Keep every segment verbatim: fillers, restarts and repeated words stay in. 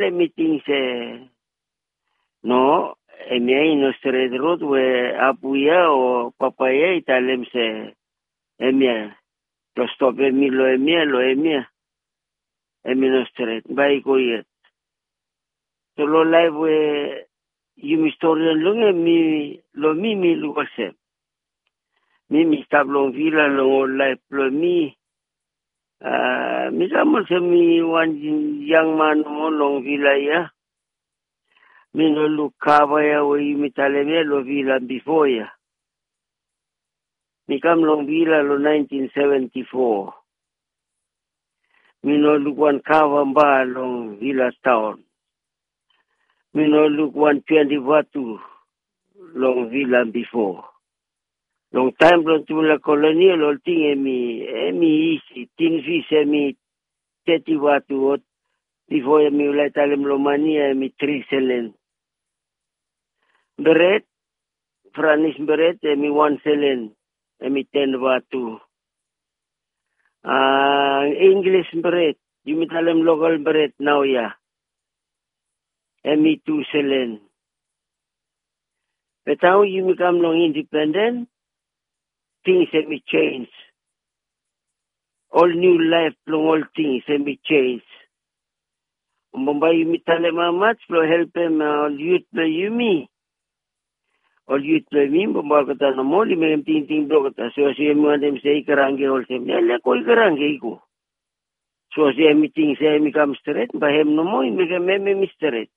Hemi ting se no, hemia i no stret rod we apu ya o papa ya i talem se hemia blong stopem mi long hemia, long hemia. Hemi no stret, bae i go yet. So long laef we yumi storian long hem, mi, long mi, mi luk olsem mi, mi stap long vila long ol laef blong mi. A, mi kam olsem mi wan yang man nomo long vila ya. Mi no luk kava ya we yumi talem ya long vila bifo ya. Mi kam long vila long naentin seventi fo. Mi no luk wan kava ba long vila taon. Mi no luk wan twenti vatu long vila bifo. Long taem blong tufala kolonial, ol ting hemi, hemi isi. Tin fis hemi teti vatu, o bifo hemi lae talem long mane ya hemi tri selen. Bret, Franis bret, hemi wan selen, hemi ten vatu. A, Inglis bret, yumi talem lokal bret naoia, hemi tu selen. Be taem yumi kam long indipenden, tings hemi jenis. Ol niu laef blong ol tings hemi jenis. Bambae yumi talem hamaot blong helpem, a, ol yut blong yumi. Ol yut blong yumi bambae olgeta nomo oli mekem tingting blong olgeta. Sapos yumi wantem se i kranke olsem ya, lego i kranke i go. Sapos hemi ting se hemi kam stret, bae hem nomo i mekem hem hemi stret.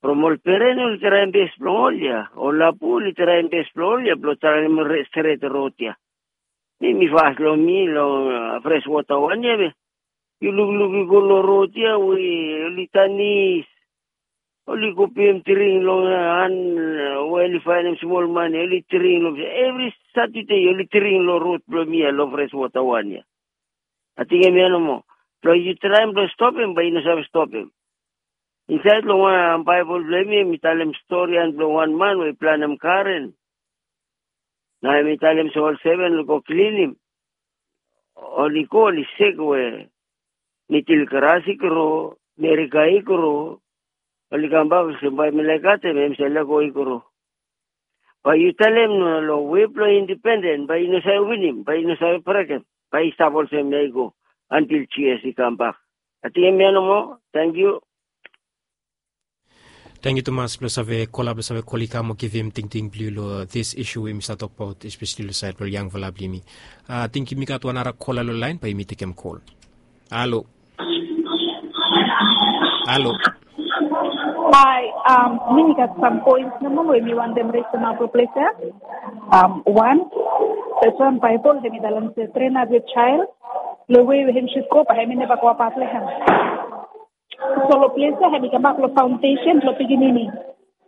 From ol peren oli traem bes blong ol ya, ol apu oli traem bes blong ol ya blong traem stret rod ya. Mi, mi fas long mi long, a, fres wota wan ya be yu lukluk i go long rod ya we oli tanis. Oli go pem dring long, a, han, a, we oli faenem smol mane, oli dring long, evri Satade oli dring long rod blong mi ya long fres wota wan ya. Ating hemia nomo. Blong yu traem blong stopem, bae yu no save stopem. Insaed long wan Baebol blong yumi, hemi talem storian blong wan man we i planem garen. Nao hemi talem se ol seven oli go klinim. Oli go, oli sek we nidil gras i gro, merika i gro. Oli kambak olsem bae mi laek katem hem, se lego i gro. Bae yu talem no long we blong indipenden, bae yu no save winim, bae yu no save brekem, bae i stap olsem ya i go antil Jisas i kambak. Ating hemia nomo. Tangkiu. Tangkiu tumas blong save kol, blong save kol i kam o givim tingting blong yu long this issue we yumi stap tokbaot, especially long saed blong yangfala blong yumi. A, ating yumi gat wan nara kola long laen, bae yumi tekem kol. Halo. Halo. Hae, um, mi gat sam poen nomo we mi wantem resem long ples ya. Um, wan, tasol Baebol hemi talem se train up your child long wei we hem should go, bae hemi neva go abaot long hem. So long ples ya hemi kambak long faondesen blong pikinini.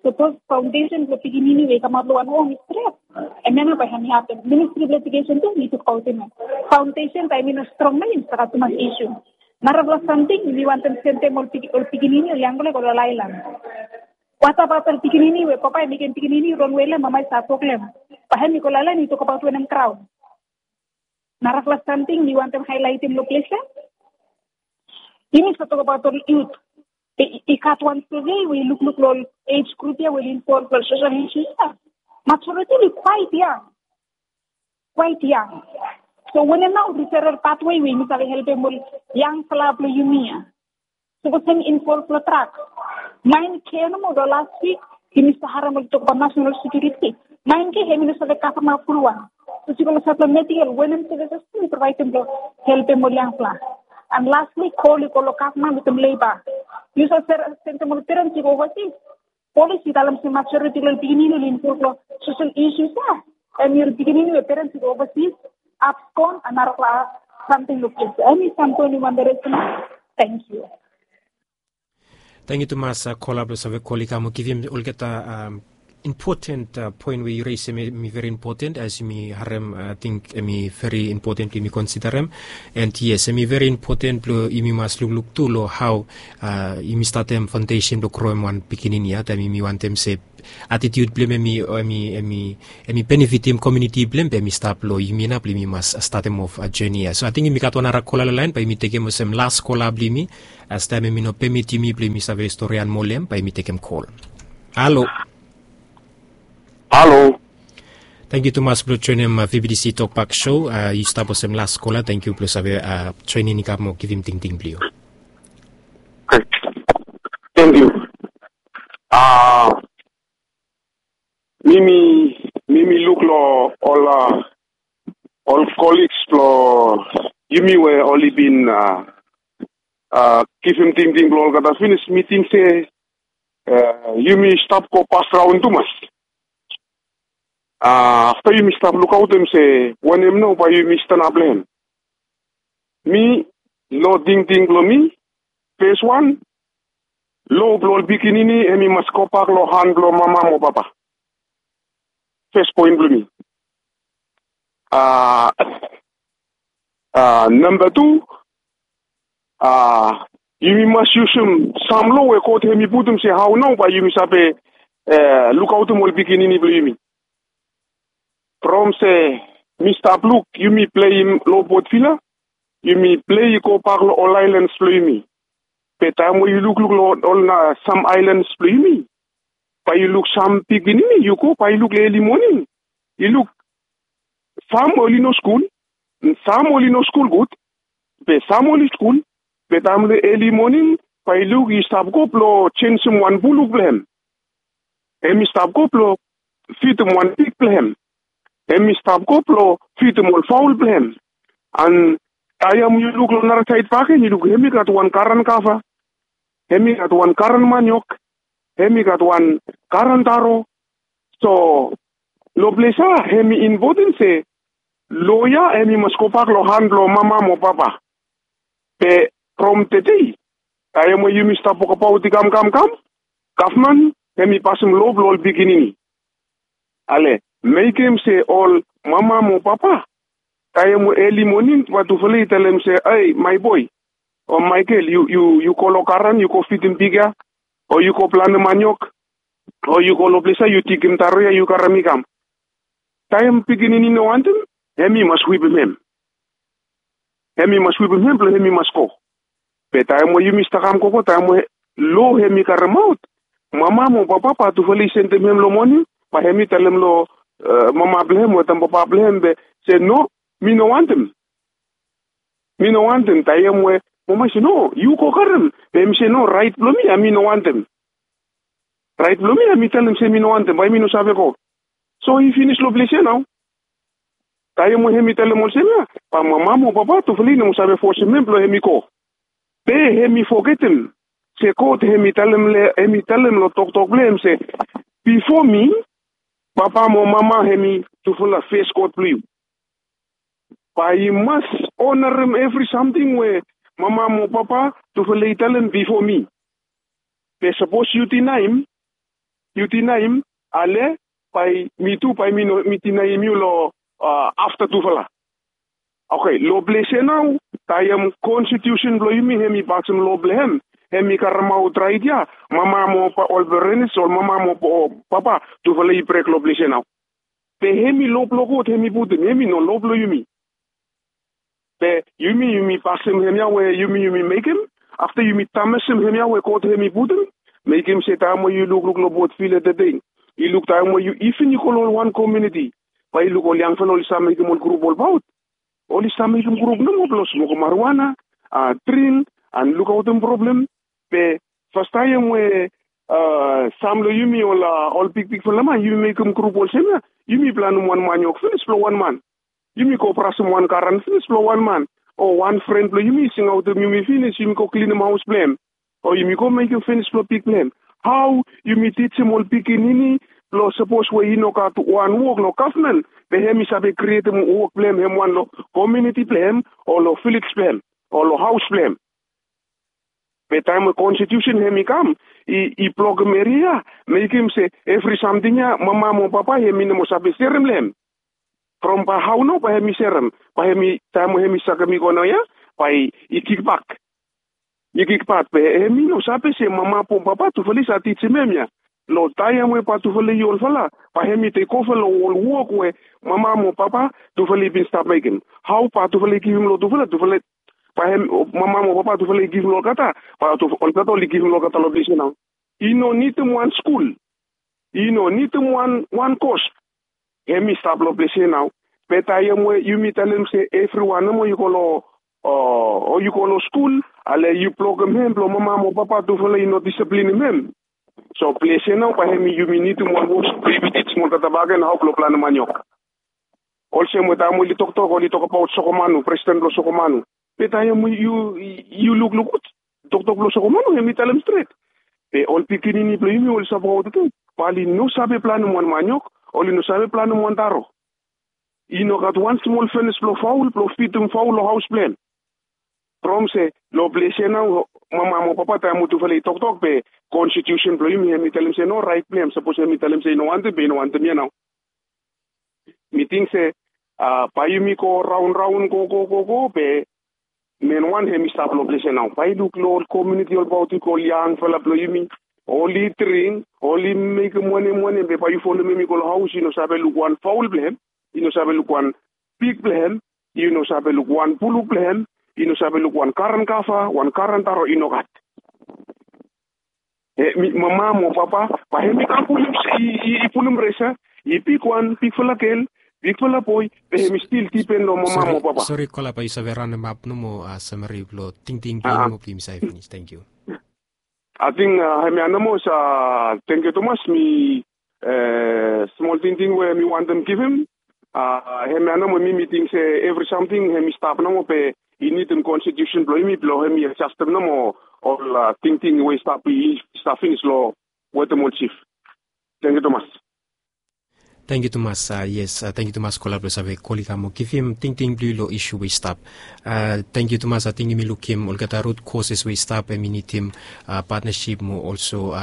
Sapos faondesen blong pikinini we i kamaot long wan hom i stret, hemia nao bae hemi hapen. Ministri blong Ejukesen tu mi tokbaot hemia. Faondesen bae hemi no strong nao yumi stap gat tumas isu. Narafala samting, yumi wantem sendem ol pik-, ol pikinini, ol yangfala i go long laelan. Watabaot ol pikinini we papa i mekem pikinini rongwe long hem, mama i stap wok long hem? Bae hemi go long laelan i tokbaot wanem graon? Narafala samting mi wantem haelaetem long ples ya. Yumi stap tokbaot ol yut. I, i gat wan survei we i lukluk long ol age group ya we oli involve long social issues ya. Majority oli quite young. Quite young. So wanem nao referral pathway we yumi save helpem ol yangfala blong yumi ya? Sapos hem involve long drug. Naen K nomo long las wik, yumi stap harem oli tokbaot nasenal sekiuriti. Naen K hemi no save kavemap fulwan. Sapos yu go long saed blong medical, wanem services yumi provaedem blong helpem ol yangfala? And lastly, kol i go long gavman wetem leba. Yu save sendem ol perens i go ovasis. Polis i talem se majoriti blong ol pikinini oli involve long social issues ya. Hemi ol pikinini we perens i go ovasis, abskon, and narafala samting long ples ya. Hemi sam poen we mi wantem resem. Tangkiu. Tangkiu tumas, a, kola blong save kol i kam o givim olgeta, um, Impoten poen we yu resim em i veri impoten as yumi harem ating em i veri impoten blong yumi konsiderem. And yes, em i veri impoten blong yumi mas lukluk tu long hao yumi statem faundesen blong kroem wan pikinini ya taem yumi wantem se atitiut blong em em i benefitim komiuniti blong em be em i stap long yumi nap blong yumi mas statem of joni ya. So ating yumi gat wan ara kola long laen bae yumi tekem olsem las kola blong yumi. As taem em i no pemit yumi blong yumi save storian moa long em bae yumi tekem kol. Halo. Halo. Tangkiu tumas blong joenem vbtc tokbak sho. Yu stap olsem las kola, tangkiu blong save joenem i kam mo givim tingting blong yu. Tangkiu. A mi mi mi mi luk long ol a ol koliks blong yumi we oli bin a a givim tingting blong olgeta finis mi ting se a yumi stap go pasraon tumas. A afta yumi stap lukaotem se wanem nao bae yumi stanap long hem. Mi long tingting blong mi, fes wan, lo blong ol pikinini hem i mas gobak long han blong mama mo papa. Fes poen blong mi. A a namba tu, a yumi mas yusum sam lo we god hem i putum se hao nao bae yumi save lukaotem ol pikinini blong yumi. From se mi stap luk yumi pleim long botvila, yumi plei i gobak long ol aelans blong yumi. Be taem we yu lukluk long ol na sam aelans blong yumi, bae yu luk sam pikinini yu go bae yu luk long eli moning, yu luk sam oli no skul, sam oli no skul gud, be sam oli skul. Be taem long eli moning bae yu luk i stap go blong jensim wan buluk blong hem. Hem i stap go blong fidim wan pik blong hem. Hem i stap go blong fidim ol faol blong hem. An taem yu luk long nara saed baken yu luk hem i gat wan garan kava, hem i gat wan garan maniok, hem i gat wan garan taro. So long ples ya hem i impoten se lo ya hem i mas gobak long han blong mama mo papa. Be from tede taem we yumi stap wokabaot i kam kam kam, gavman hem i pasem lo blong ol pikinini. Ale mekem se ol mama mo papa taem we eli moning bae tufala i talem se, ei mae boe o mae gel, yu go long garan yu go fidim pik ya, o yu go planem maniok, o yu go long ples ya yu digim taro ya yu karem i kam. Taem pikinini i no wantem, hem i mas wipim hem. Hem i mas wipim hem blong hem i mas go. Be taem we yumi stap kam gogo taem we lo hem i karemaot, mama mo papa bae tufala i sendem hem long moning, bae hem i talem long mama blong hem wetem papa blong hem be se no, mi no wantem. Mi no wantem. Taem we mama i se no, yu go karem, be hem i se no, raet blong mi ya mi no wantem. Raet blong mi ya mi talem se mi no wantem bae mi no save go. So i finis long ples ya nao. Taem we hem i talem olsem ya, bae mama mo papa tufala i no moa save fosem hem blong hem i go. Be hem i fogetem se god hem i talem long toktok blong hem se bifo mi, papa mo mama hem i tufala fes god blong yu. Bae i mas onarem evri samting we mama mo papa tufala i talem bifo mi. Be sapos yu dinaem, yu dinaem, ale bae mi tu bae mi no mi dinaem yu long afta tufala. Oke, long ples ya nao taem konstitiusen blong yumi hem i pasem lo blong hem, hem i karemaot raet ya, mama mo ol perenis ol mama mo papa tufala i brek long ples ya nao. Be hem i lo blong god hem i putum, hem i no lo blong yumi. Be yumi yumi pasem hemia we yumi yumi mekem, afta yumi tamesem hemia we god hem i putum. Mekem se taem we yu lukluk long botfil ya tede, yu luk taem we yu iven yu go long ol wan komiuniti, bae yu luk ol yangfala oli save mekem ol grup olbaot. Oli save mekem grup nomo blong smokem mariwana, dring, an lukaotem problem. Be fastaem we sam long yumi ol bigbigfala man yumi mekem grup olsem ya, yumi planem wan maniok finis blong wan man. Yumi go brasem wan garan finis blong wan man, o wan fren blong yumi i singaotem yumi finis yumi go klinim haos blong hem, o yumi go mekem finis blong pik blong hem. Hao yumi tijim ol pikinini blong sapos we i no gat wan wok long gavman, be hem i save krietem wok blong hem hem wan long komiuniti blong hem, o long vilej blong hem, o long haos blong hem? Be taem we konstitiusen hem i kam, i blokem eria ya, mekem se evri samting ya mama mo papa hem i no moa save serem long hem. From bae hao nao bae hem i serem? Bae hem i, taem we hem i sakem i go nao ya, bae i kikbak. I kikbak be hem i no save se mama mo papa tufala i save tijim hem ya. Long taem we bae tufala i olfala, bae hem i tekova long ol wok we mama mo papa tufala i bin stap mekem. Hao bae tufala i givim long tufala, tufala bae hem, mama mo papa tufala i givim long olgeta, bae olgeta oli givim long olgeta long ples ya nao. I no nidim wan skul. I no nidim wan kos. Hem i stap long ples ya nao. Be taem we yumi talem se evriwan nomo i go long, o i go long skul, ale yu blokem hem blong mama mo papa tufala i no disiplinim hem. So ples ya nao bae hem i, yumi nidim wan wok blong yumi tijim olgeta bakegen hao blong planem maniok. Olsem we taem oli toktok, oli tokbaot Sokomanu, presiden blong Sokomanu. Be taem yu, yu lukluk gud, toktok blong Sokomanu hem i talem stret. Be ol pikinini blong yumi oli save wokabaot ating, bae oli no save planem wan maniok, oli no save planem wan taro. I no gat wan smol fenis blong faol blong fidim faol long haos blong hem. From se long ples ya nao, mama mo papa taem we tufala i toktok be konstitiusen blong yumi hem i talem se no, raet blong hem sapos hem i talem se i no wantem be i no wantem ya nao. Mi ting se bae yumi go raon raon go go go go be men wan hem i stap long ples ya nao. Bae i luk long ol komuniti olbaot i go, ol yangfala blong yumi, oli dring, oli mekem wanem wanem, be bae yu folem hem i go long haos, i no save luk wan faol blong hem, i no save luk wan pig blong hem, i no save luk wan buluk blong hem, i no save luk wan karen kava, wan karen taro, i no gat. Mama mo papa bae hem i kam pulum, i pulum resa, i bigwan, bigfala gel, bigfala boe, be hem i stil dipen long mama mo papa. Sori, kola, bae yu save raonemap nomo, samari blong tingting blong yumi mo blong yumi save finis. Tangkiu. Ating hemia nomo. Tangkiu tumas. Mi smol tingting we mi wantem givim. Hemia nomo, mi mi ting se evri samting hem i stap nomo be i nidim konstitiusen blong yumi blong hem i adjastem nomo ol tingting we i stap, i stap finis long wetem ol jif. Tangkiu tumas. Tangkiu tumas. Yes, tangkiu tumas kola blong save kol i kam mo givim tingting blong yu long isu we i stap. Tangkiu tumas. Ating yumi lukim olgeta rut koses we i stap, hem i nidim patnasip mo olso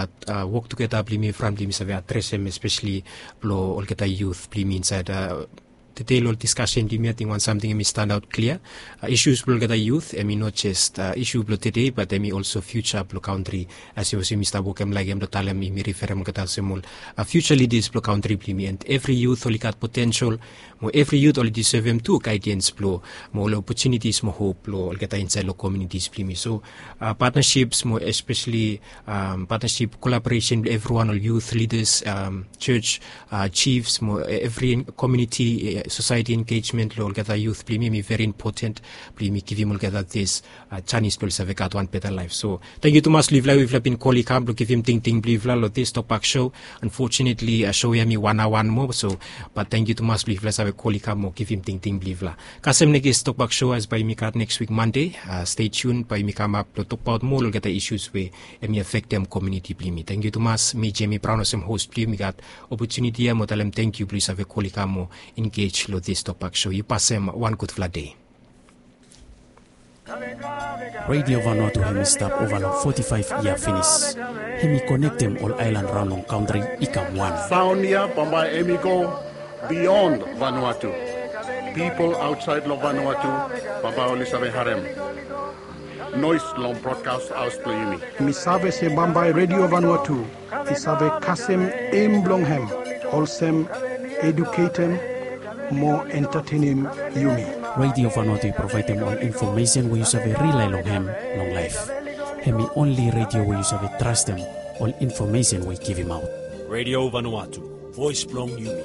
wok tugeta blong yumi from blong yumi save adresem, espeseli blong olgeta yut blong yumi insaed. Tede long diskasen blong yumi, ating wan samting hem i standaot klia. Isus blong olgeta yut hem i no jes isu blong tede, bat hem i olso fiuja blong kantri. As yumi stap wokem laik hem blong talem, yumi riferem olgeta olsem ol fiuja lidas blong kantri blong yumi. And evri yut oli gat potensel, mo evri yut oli disevem tu gaedens blong, mo ol opotunitis mo hop blong olgeta insaed long komunitis blong yumi. So patnasips mo espeseli patnasip, kolaboresen blong evriwan, ol yut lidas, jos, jifs mo evri komuniti, sosaeti engejmen long olgeta yut blong yumi hem i veri impoten blong yumi givim olgeta dis janis blong oli save gat wan beta laef. So tangkiu tumas long yufala we yufala bin kol i kam blong givim tingting blong yufala long dis Tokbak Show. Unfortunately show ya hem i wan aoa nomo, so bat tangkiu tumas blong yufala save kol i kam mo givim tingting blong yufala. Kasem nekis Tokbak Show as bae yumi gat neks wik Mande. Stay tuned, bae yumi kamap blong tokbaot moa long olgeta isus we hem i afektem komuniti blong yumi. Tangkiu tumas. Mi Jemi Braon olsem hos blong yu mi gat opotuniti ya mo talem tangkiu blong yu save kol i kam mo engej long dis Tokbak Show. Yu pasem wan gudfala dei. Redio Vanuatu hem i stap ova long foti faef yia finis. Hem i konektem ol aelan raon long kantri i kam wan. Saon ya bambae hem i go bion Vanuatu. Pipol aotsaed long Vanuatu bambae oli save harem noes long brodkas haos blong yumi. Mi save se bambae Redio Vanuatu i save kasem eim blong hem olsem eduketem mo entatenem yumi. Redio Vanuatu i provaedem ol infomesen we yu save rilae long hem long laef. Hem i onli redio we yu save trastem ol infomesen we i givimaot. Redio Vanuatu, voes blong yumi.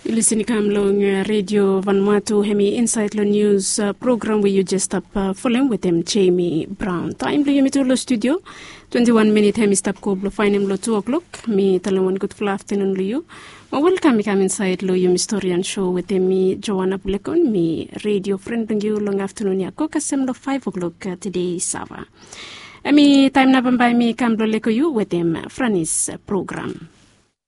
Yu lisin i kam long Redio Vanuatu, hem i insaed long nius program we yu jes stap folem wetem Jemi Braon. Taem blong yumi tu long studio, twenti wan minit hem i stap go blong faenem long tu oklok. Mi talem wan gudfala aftanun long yu. Mo welkam i kam insaed long yumi storian show wetem mi, Joana Bulekon, mi redio fren blong yu long aftanun ya go kasem long faef oklok tede Sava. Hem i taem nao bambae mi kam blong lego yu wetem Franis program.